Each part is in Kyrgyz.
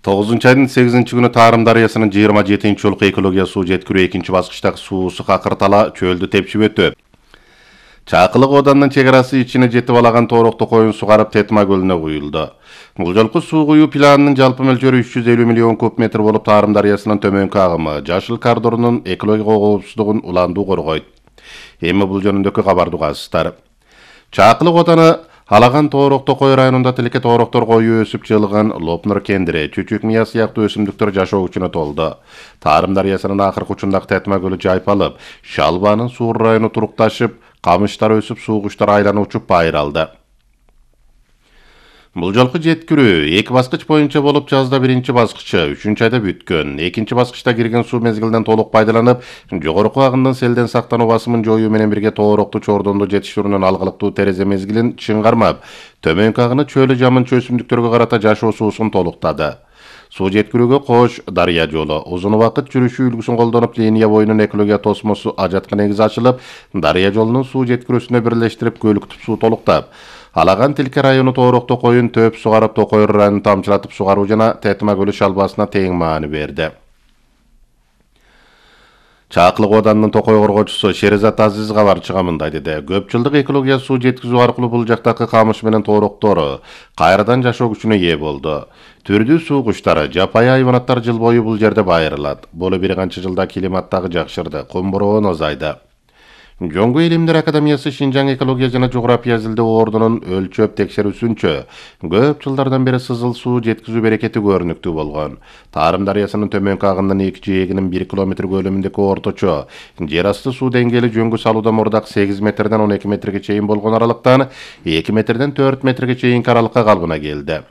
9-айдын 8-күнү Тарым дарыясынын 27-жолку экология суу жеткирүү экинчи баскычтагы суусу какыртала чөлдү тепшип өтөт. Чакылык оданынын чек арасы ичине жетип алаган тоорокто коюн сугарып Тетма көлүнө куюлду. Бул жолку суу куюу планынын жалпы мөлчөрү 350 миллион куб метр болуп, Тарым дарыясынын төмөнкү агымы Жашыл коридорунун экология коопсуздугун уландуу коргойт. Эми бул жөнүндөгү кабарды угасыздар. Чакылык оданы Алаган тоорокто кой районунда тилеке тоороктор кою өсүп жылган Лопнур кендири, чүчүк мия сыяктуу өсүмдүктөр жашоо күчүнө толду. Тарым дарыясынын акыркы учундагы Тетма көлү жайпалып, Шалбанын суу району турукташып, камыштар өсүп, суу куштар айланып учуп байыралды. Бул жолку жеткирүү 2 баскыч боюнча болуп, жазда 1-чи баскычы 3-айда бүткөн. 2-чи баскычта кирген суу мезгилинен толук пайдаланып, жогорку агымдан селден сактануу басымын жоюу менен бирге тоорокту чордонду жетиштирүүнүн алгылыктуу терезе мезгилин чыңгармап, төмөнкү агыны чөлү жамынчы өсүмдүктөргө карата жашоо суусун толуктады. Суу жеткирүүгө Кош дарыя жолу узун убакыт жүрүшү үлгүсүн колдонуп, линия боюнун экология тосмосу ажатка негиз ачылып, дарыя жолунун суу жеткирүүсүнө бирлештирип, көлүктүп суу толуктап, Алаган Тилке району тоорокто коюн төп сугарып, Токой районун тамчылатып сугаруу жана Тетма көлү шалбасына тең маани берди. Чакылык оданынын Токой коргоочусу Шеризат Азиз кабарчыга мындай деди. Көп жылдык экология суу жеткизүү аркылуу бул жактагы камыш менен тоороктору кайрадан жашоо күчүнө ээ болду. Түрдүү суу куштары, жапайы хайванаттар жыл бою бул жерде байырылат. Боло бир канча жылда климаттагы жакшырды, кум бороон азайды. Жоңгу Илимдер Академиясы Шинжаң экология жана жография изилдөө ордунун өлчөп текшерүүсүнчө көп жылдардан бери сызыл суу жеткизүү берекети көрүнүктүү болгон. Тарым дарыясынын төмөнкү агынын 2 жээгинин 1 километр көлөмүндөгү орточо жер асты суу деңгээли жөңгү салууда мурдак 8 метрден 12 метрге чейин болгон аралыктан 2 метрден 4 метрге чейинки аралыкка калыбына келди.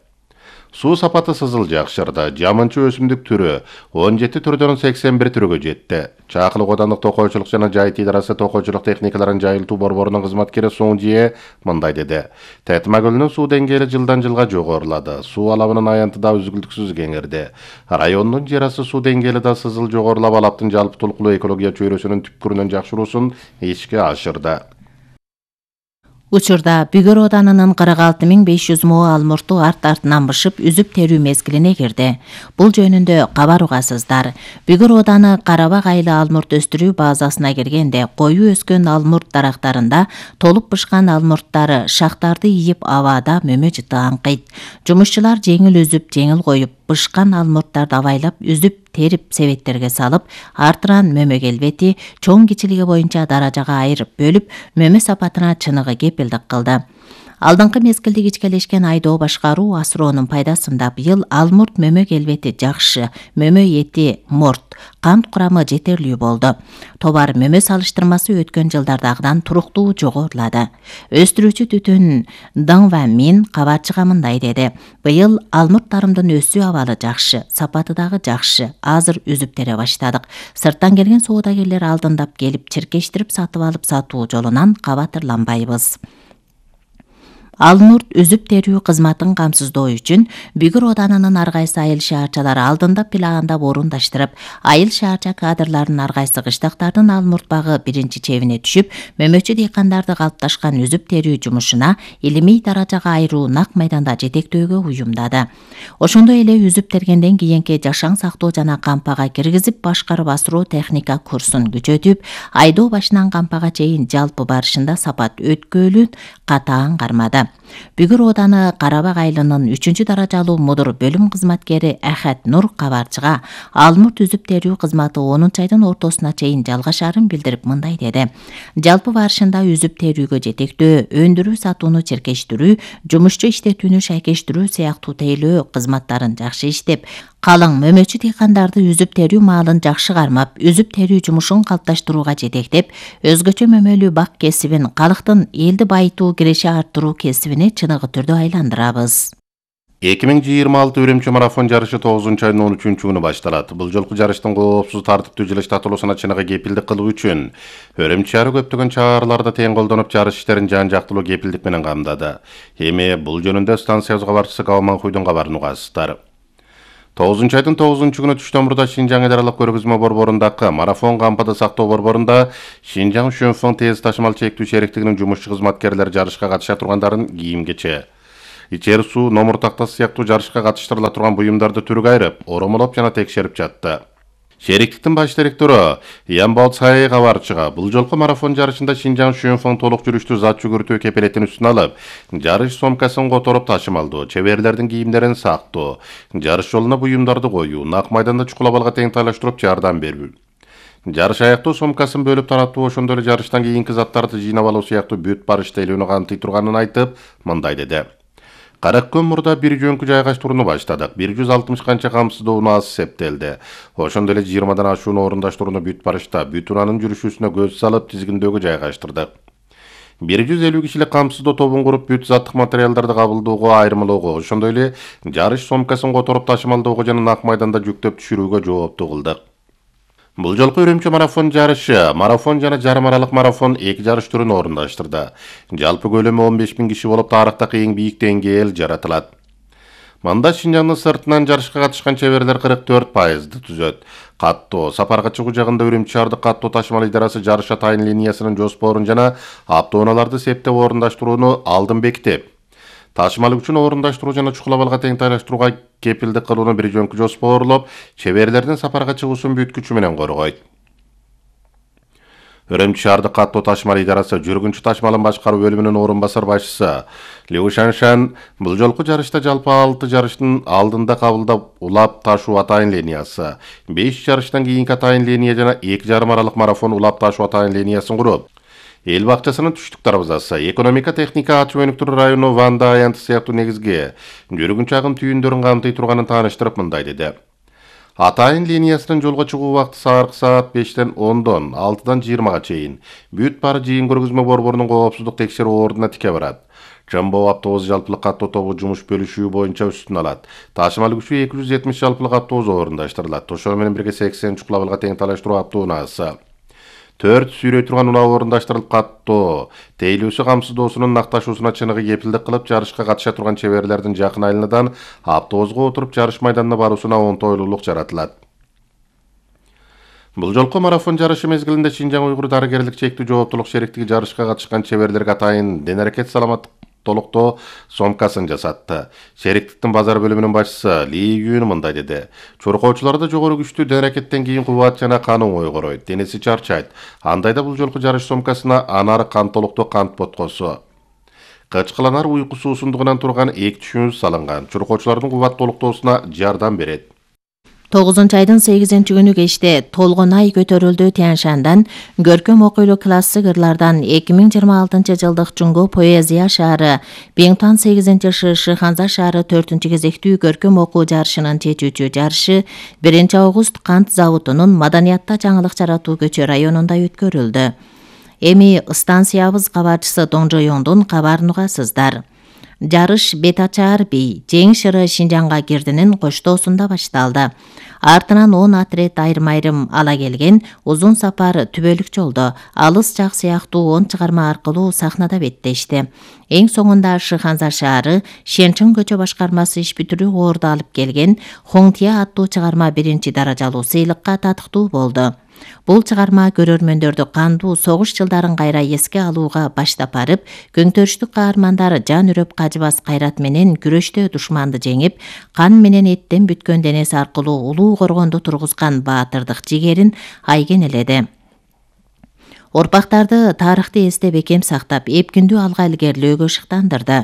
Суу сапаты сызыл жакшырды. Жамынчы өсүмдүк түрү 17 түрдөн 81 түргө жетти. Чакылык одандык токойчулук жана жайыт идарасы токойчулук техникаларын жайылтуу борборунун кызматкери Соңжие мындай деди. Тетма көлүнүн суу деңгээли жылдан жылга жогорулады. Суу алабынын аянты да үзгүлтүксүз кеңирди. Райондун жер асты суу деңгээли да сызыл жогорулап, алаптын жалпы толкулуу экология чөйрөсүнүн түпкүрүнөн жакшыруусун ишке ашырды. Учурда Бүгөр оданынын 46500 moo алмурту арт-артынан бышып, үзүп терүү мезгилине кирди. Бул жөнүндө кабар угасыздар. Бүгөр оданы Карабак айыл алмурт өстүрүү базасына киргенде, кою өскөн алмурт дарактарында толуп бышкан алмурттары шактарды ийип абада мөмө жыты аңкыйт. Жумушчулар жеңил үзүп, жеңил коюп, бышкан алмурттарды абайлап, үзүп терип себеттерге салып, артынан мөмө келбети чоң кичилиги боюнча даражага айырып бөлүп, мөмө сапатына чыныгы кепилдик кылды. Алдыңкы мезгилде кичкелешкен айдоо башкаруу асыроонун пайдасында быйыл алмурт мөмө келбети жакшы, мөмө эти морт, кант курамы жетерлүү болду. Товар мөмө салыштырмасы өткөн жылдардагыдан туруктуу жогорулады. Өстүрүүчү Түтүн Дыңва Мин кабарчыга мындай деди. Быйыл алмурттарымдын өсүү абалы жакшы, сапаты дагы жакшы. Азыр үзүп тере баштадык. Сырттан келген соодагерлер алдындап келип, чиркештирип сатып алып сатуу жолунан кабатырланбайбыз. Алмурт үзүп терүү кызматын камсыздоо үчүн Бүгөр оданынын ар кайсы айыл шаарчалары алдында плагандап орундаштырып, айыл шаарча кадрларынын ар кайсы кыштактардын алмурт багы биринчи чебине түшүп, мөмөчү дыйкандарды калыпташкан үзүп терүү жумушуна илимий даражага айыруу нак майданда жетектөөгө уюмдады. Ошондой эле үзүп тергенден кийинки жашаң сактоо жана кампага киргизип башкарып асыроо техника курсун күчөтүп, айдоо башынан кампага чейин жалпы барышында сапат өткөөлүн катаан кармады. Бүгөр оданы Карабак айылынын 3 даражалуу мудур бөлүм кызматкери Ахат Нур кабарчыга алмурт үзүп терүү кызматы 10 айдын ортосуна чейин жалгашарын билдирип мындай деди. Жалпы барышында үзүп терүүгө жетектөө, өндүрүү сатууну чиркештирүү, жумушчу иштетүүнү шайкештирүү сыяктуу тейлөө кызматтарын жакшы иштеп, калың мөмөчү дыйкандарды үзүп терүү маалын жакшы кармап, үзүп терүү жумушун калыпташтырууга жетектеп, өзгөчө мөмөлүү бак кесибин, калктын элди байытуу, киреше арттыруу кесибине чыныгы түрдө айландырабыз. 2026 Үрөмчү марафон жарышы 9-айдын 13-күнү башталат. Бул жолку жарыштын коопсуз тартиптүү жылыштатылуусуна чыныгы кепилдик кылуу үчүн Үрөмчү шаары көптөгөн чараларды тең колдонуп, жарыш иштерин жан-жактылуу кепилдик менен камдады. Эми бул жөнүндө станциябыз кабарчысы Калманкуйдун кабарын угасыздар. 9-айдын 9-күнү түштөн мурда Шинжаң идаралык көргөзмө борборундагы марафон кампады сактоо борборунда Шинжаң Шөнфоң тез ташымал чектүү шериктигинин жумушчу кызматкерлери жарышка катыша тургандарын кийим-кече ичери суу, номур тактасы сыяктуу жарышка катыштырыла турган буюмдарды түргө айырып, оромолоп жана текшерип жатты. Шериктиктин баш директору Ян Баоцай кабарчыга бул жолку марафон жарышында Шинжаң Шүйөнфаң толук жүрүштүү зат жүгүртүү кепилетин үстүнө алып, жарыш сомкасын которуп ташымалдоо, чеберлердин кийимдерин сактоо, жарыш жолуна буюмдарды коюу, нак майданда чукулабалга тең тайлаштырып жардам берүү, жарыш аяктоо сомкасын бөлүп таратуу, ошондой эле жарыштан кийинки заттарды жыйнап алуу сыяктуу бүт бар иштелүүнү камтый турганын айтып, мындай деди. 40 күн мурда бир жөнкү жайгаштырууну баштадык. 160 канча камсыздоону аз эсептелди. Ошондой эле 20дан ашууну орундаштырууну бүт барышта бүт унаанын жүрүшүүсүнө көз салып тизгиндөөгө жайгаштырдык. 150 кишилик камсыздоо тобун куруп бүт заттык материалдарды кабылдоого, айырмалоого, ошондой эле жарыш сомкасын которуп ташымалдоого жана нак майданда жүктөп түшүрүүгө жооптуу кылдык. Бул жолку Үрүмчү марафон жарышы, марафон жана жарым аралык марафон 2 жарыш түрүн орундаштырды. Жалпы көлөмү 15.000 киши болуп, тарыхтагы эң бийик деңгээл жаратылат. Мында Шинжаңдын сыртынан жарышка катышкан чеберлер 44%ды түзөт. Каттоо, сапарга чыгуу жагында Үрүмчү шаардык каттоо ташымал идарасы жарыш атайын линиясынын жоспорун жана автоунааларды септеп орундаштырууну алдын бекитип, ташымал үчүн орундаштыруу жана чукулабалга тең тайлаштырууга кепилдик кылууну бир жөнкү жоспорлоп, чеберлердин сапарга чыгуусун бүт күчү менен коргойт. Үрүмчү шаардык каттоо ташымал идарасы жүргүнчү ташмалын башкаруу бөлүмүнүн орун басар башчысы Лю Шаншан бул жолку жарышта жалпы 6 жарыштын алдында кабылдап улап ташуу атайын линиясы, 5 жарыштан кийинки атайын линия жана 2 жарым аралык марафон улап ташуу атайын линиясын куруп, эл бакчасынын түштүк дарбазасы, экономика техника ачуу өнүктүрүү району Ванда аянты сыяктуу негизги жүргүнчү агым түйүндөрүн камтый турганын тааныштырып мындай деди. Атайын линиясынын жолго чыгуу убакыты саат 5-тен 10-дон 6-дан 20-га чейин. Бүт бары жыйын көргөзмө борборунун коопсуздук текшерүү ордуна тике барат. Жамбоо автобус жалпылык каттоо тобу жумуш бөлүшүү боюнча үстүн алат. Ташымал күчү 270 жалпылык автобус орундаштырылат. Ошол менен бирге 80 чукулабалга тең тайлаштыруу автоунаасы, 4 сүйрөй турган унаа орундаштырылып, каттоо тейлүүсү камсыздоосунун накташуусуна чыныгы кепилдик кылып, жарышка катыша турган чеберлердин жакын айылынан автобуска отуруп жарыш майданына баруусуна оңтойлуулук жаратылат. Бул жолку марафон жарышы мезгилинде Шинжаң уйгур дарыгерлик чектүү жооптулук шериктиги жарышка катышкан чеберлерге атайын дене-аракет саламаттык толуктоо сомкасын жасатты. Шериктиктин базар бөлүмүнүн башчысы Ли Юн мындай деди. Чуркоочуларда жогору күчтүү дене-аракеттен кийин кубат жана кан оңой короойт, денеси чарчайт. Андайда бул жолку жарыш сомкасына анар кан толуктоо кант боткосу, кычкыланар уйку суусундугунан турган 2 түшүнүз салынган. Чуркоочулардын кубат толуктоосуна жардам берет. 9-айдын 8-күнү кечте толгон ай көтөрүлдү. Тяньшандан көркөм окуйлуу классик ырлардан 2026-жылдык Чуңго поэзия шаары, Биңтуан 8-шы Шыханза шаары 4-кезектүү көркөм окуу жарышынын чечүүчү жарышы 1-август кант заводунун маданиятта жаңылык жаратуу көчө районунда өткөрүлдү. Эми станциябыз кабарчысы Доңжоёңдун кабарын угасыздар. Жарыш Бетачаар бий, Жеңиш ыры Шинжаңга кирдинин коштоосунда башталды. Артынан 10 отряд айрым-айрым ала келген узун сапар түбөлүк жолдо, алыс жак сыяктуу 10 чыгарма аркылуу сахнада беттешти. Эң соңунда Шыханза шаары Шенчиң көчө башкармасы иш бүтүрүү орду алып келген Хоңтия аттуу чыгарма 1-даражалуу сыйлыкка татыктуу болду. Бул чыгарма көрөрмөндөрдү кандуу согуш жылдарын кайра эске алууга баштап барып, көңтөрүштүк каармандар жан үрөп кажыбас кайрат менен күрөштө душманды жеңип, кан менен эттен бүткөн денеси аркылуу улуу коргонду тургузган баатырдык жигерин айгенеледи. Орпактарды тарыхты эсте бекем сактап, эпкиндүү алга илгерилөөгө шыктандырды.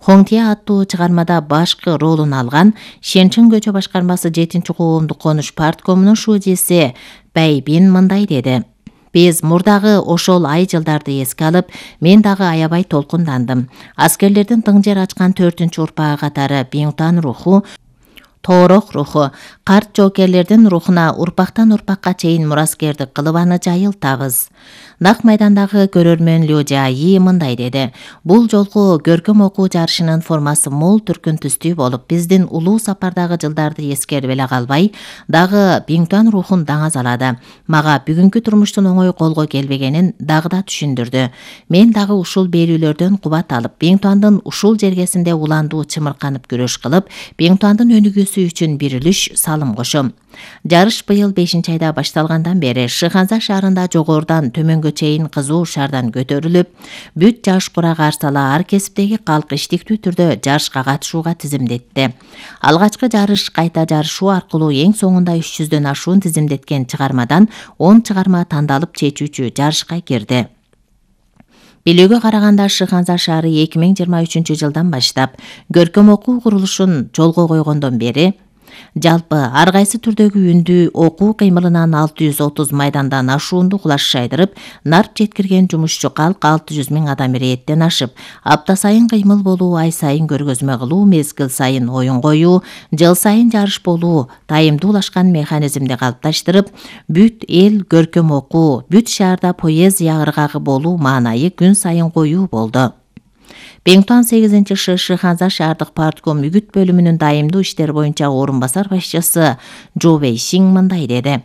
Хоңтия аттуу чыгармада башкы ролун алган Шенчиң көчө башкармасы 7-коомдук конуш парткомунун шуудеси Бәйбин мындай деди. Биз мурдагы ошол ай жылдарды эске алып, мен дагы аябай толкундандым. Аскерлердин тың жер ачкан 4-урпагы катары Биңтуан руху, Тоорок руху, карт жоокерлердин рухуна урпактан урпакка чейин мураскердик кылып аны жайылтабыз. Нак майдандагы көрөрмөн Лю Жаи мындай деди. Бул жолку көркөм окуу жарышынын формасы мол түркүн түстүү болуп, биздин улуу сапардагы жылдарды эскерип эле калбай, дагы Биңтуан рухун даңаз алады. Мага бүгүнкү турмуштун оңой колго келбегенин дагы да түшүндүрдү. Мен дагы ушул берүүлөрдөн кубат алып, Биңтуандын ушул жергесинде уландуу чымырканып күрөш кылып, Биңтуандын өнүгүүсү үчүн бир үлүш салым кошом. Жарыш быйыл 5-айда башталгандан бери Шыханза шаарында жогорудан төмөнгө чейин кызуу шаардан көтөрүлүп, бүт жаш курак арсала ар кесиптеги калк иштиктүү түрдө жарышка катышууга тизимдетти. Алгачкы жарыш кайта жарышуу аркылуу эң соңунда 300дөн ашуун тизимдеткен чыгармадан 10 чыгарма тандалып чечүүчү жарышка кирди. Билүүгө караганда Шыханза шаары 2023-жылдан баштап көркөм окуу курулушун жолго койгондон бери жалпы ар кайсы түрдөгү үндүү окуу кыймылынан 630 майдандан ашуунду кулаш шайдырып, нарп жеткирген жумушчу калк 600 000 адам ирээттен ашып, апта сайын кыймыл болуу, ай сайын көргөзмө кылуу, мезгил сайын оюн коюу, жыл сайын жарыш болуу тайымдуулашкан механизмди калыпташтырып, бүт эл көркөм окуу, бүт шаарда поэзия ыргагы болуу маанайы күн сайын коюу болду. Беңтуан 8-ШШ Шыханза шаардык партком үгүт бөлүмүнүн дайымдуу иштер боюнча орун басар башчысы Жо Вейшиң мындай деди.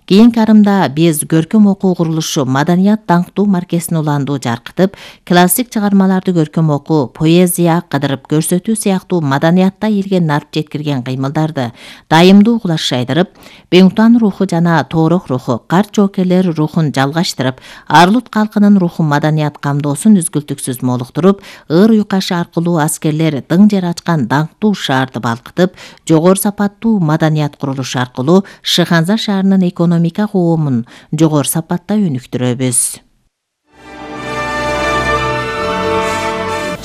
Кийинки арымда биз көркөм окуу курулушу маданият даңктуу маркесин уландуу жаркытып, классик чыгармаларды көркөм окуу, поэзия кыдырып көрсөтүү сыяктуу маданиятта элге нарп жеткирген кыймылдарды дайымдуу кулаш шайдырып, Беңтуан руху жана Тоорох руху, карт жоокерлер рухун жалгаштырып, Арлут калкынын руху маданият камдоосун үзгүлтүксүз молуктуруп, ыр уйкашы аркылуу аскерлер дың жер ачкан даңктуу шаарды балкытып, жогору сапаттуу маданият курулушу аркылуу Шыханза шаарынын экономика коомун жогору сапатта өнүктүрөбүз.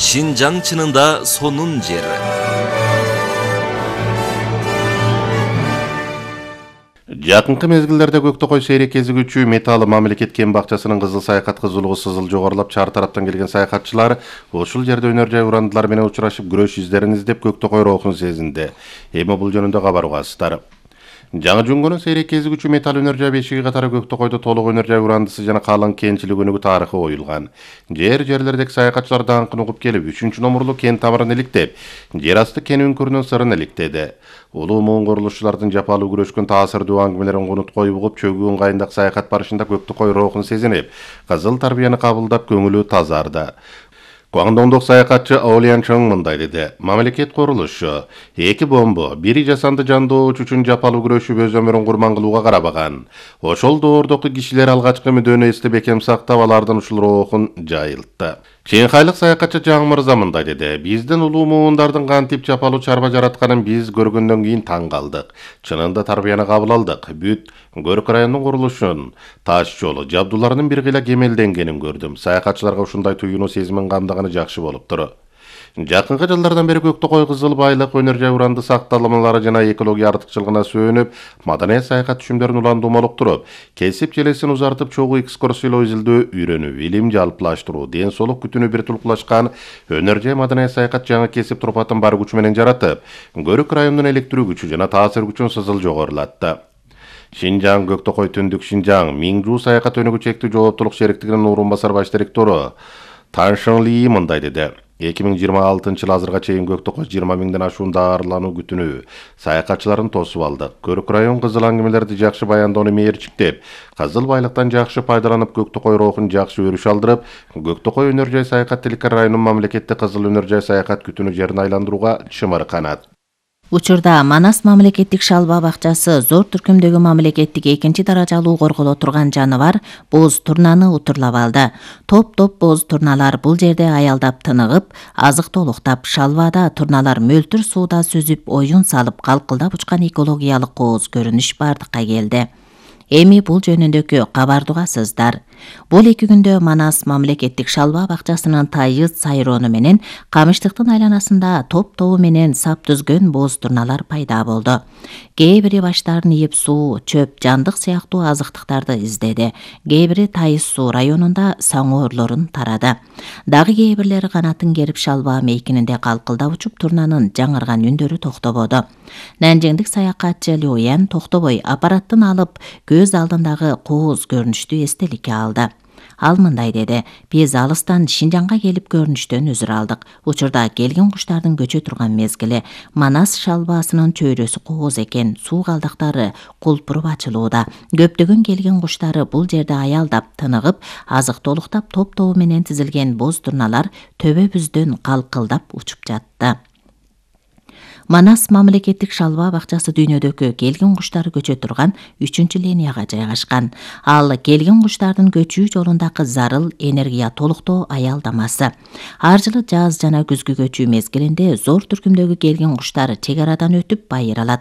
Шинжаң чынында сонун жер. Жакынкы мезгилдерде Көктөкөй сейрек кезигүүчү Металы мамлекет кен бакчасынын кызыл саякат кызуулугу сызыл жогорулап, чар тараптан келген саякатчылар ушул жерде өнөр жай урандылар менен учурашып, күрөш издерин издеп Көктөкөй рухун сезинди. Эми бул жөнүндө кабар угасыздар. Жаңы Жөнгөнүн сейрек кезигүүчү Метал өнөр жай бешиги катары Көктөкөйдө толук өнөр жай урандысы жана калың кенчилик өнүгүү тарыхы оюлган. Жерлердеги саякатчылар даңкын угуп келип, 3-номурлуу кен тамырын иликтеп, жер асты кен үңкүрүнүн сырын иликтеди. Улуу муун курулушчулардын жапалуу күрөшкөн таасирдүү аңгемелерин конуткой угуп, чөгүү ыңгайындагы саякат барышында Көктөкөй рухун сезинип, кызыл тарбияны кабылдап, көңүлү тазарды. Гуандоңдук саякатчы Олиан Чоң мындай деди. Мамлекет курулушу эки бомбо, бири жасанды жандооч үчүн жапалуу күрөшүп өз өмүрүн курман кылууга карабаган. Ошол доордогу кишилер алгачкы мүдөнү эстеп бекем сактап, алардын ушул рухун жайылтты. Чейинхайлык саякатчы Жаң Мырза мындай деди. Биздин улуу муундардын кантип жапалуу чарба жаратканын биз көргөндөн кийин таң калдык. Чынында тарбияны кабыл алдык. Бүт Көрк районунун курулушун, таш жолу, жабдууларынын бир кыйла кемелденгенин көрдүм. Саякатчыларга ушундай туюнуу сезимин камдаганы жакшы болуптур. Жакынкы жылдардан бери Көктөкөй кызыл байлык, өнөр жай уранды сакталмалары жана экология артыкчылыгына сүйөнүп, маданият саякат түшүмдөрүн уландуу молуктуруп, кесип желесин узартып, чогуу экскурсиялоо изилдөө, үйрөнүү, илим жалпылаштыруу, ден соолук күтүүнү бир тулкулашкан өнөр жай маданият саякат жаңы кесип турпатын бар күчү менен жаратып, Көрк районунун электирүү күчү жана таасир күчүн сызыл жогорулатты. Шинжаң Көктөкөй түндүк Шинжаң Миңжу саякат өнүгүү чектүү жооптулук шериктигинин орун басар баш директору Тан Шын Ли мындай деди. 2026-жыл азырга чейин Көктөкөй 20 000ден ашуун даарылануу күтүнүү саякатчыларын тосуп алдык. Көрк район кызыл аңгемелерди жакшы баяндоону мээрчиктеп, кызыл байлыктан жакшы пайдаланып, Көктөкөй рухун жакшы өрүш алдырып, Көктөкөй өнөр жай саякат тилкер районунун мамлекетти кызыл өнөр жай саякат күтүнүү жерин айландырууга чымыр канат. Учурда Манас мамлекеттик шалба бакчасы зор түркүмдөгү мамлекеттик 2-даражалуу корголо турган жаныбар боз турнаны утурлап алды. Топ-топ боз турналар бул жерде аялдап тыныгып, азык толуктап, шалбада турналар мөлтүр сууда сүзүп, оюн салып, калкылдап учкан экологиялык кооз көрүнүш бардыкка келди. Эми бул жөнүндөгү кабарды угасыздар. Бул 2 күндө Манас мамлекеттик шалба бакчасынын тайыз сайроону менен камыштыктын айланасында топ-тобу менен сап түзгөн боз турналар пайда болду. Кээ бири баштарын ийип суу, чөп, жандык сыяктуу азыктыктарды издеди. Кээ бири Тайыз суу районунда саңоорлорун тарады. Дагы кээ бирлери канатын керип шалба мейкининде калкылдап учуп турнанын жаңырган үндөрү токтободу. Нанжиңдик саякатчы Луян токтобой аппараттын алып көз алдындагы кооз көрүнүштү эстеликке алды. Ал мындай деди. Биз алыстан Шинжаңга келип көрүнүштөн өзүр алдык. Учурда келген куштардын көчө турган мезгили. Манас шалбасынын чөйрөсү кооз экен. Суу калдыктары кулпуруп ачылууда. Көптөгөн келген куштары бул жерде аялдап, тыныгып, азык толуктап, топ-тобу менен тизилген боз турналар төбөбүздөн калкылдап учуп жатты. Манас мамлекеттик шалба бакчасы дүйнөдөгү келгин куштар көчө турган 3 линияга жайгашкан. Ал келгин куштардын көчүү жолундагы зарыл энергия толуктоо аялдамасы. Ар жылы жаз жана күзгү көчүү мезгилинде зор түркүмдөгү келгин куштар чек арадан өтүп байыр алат.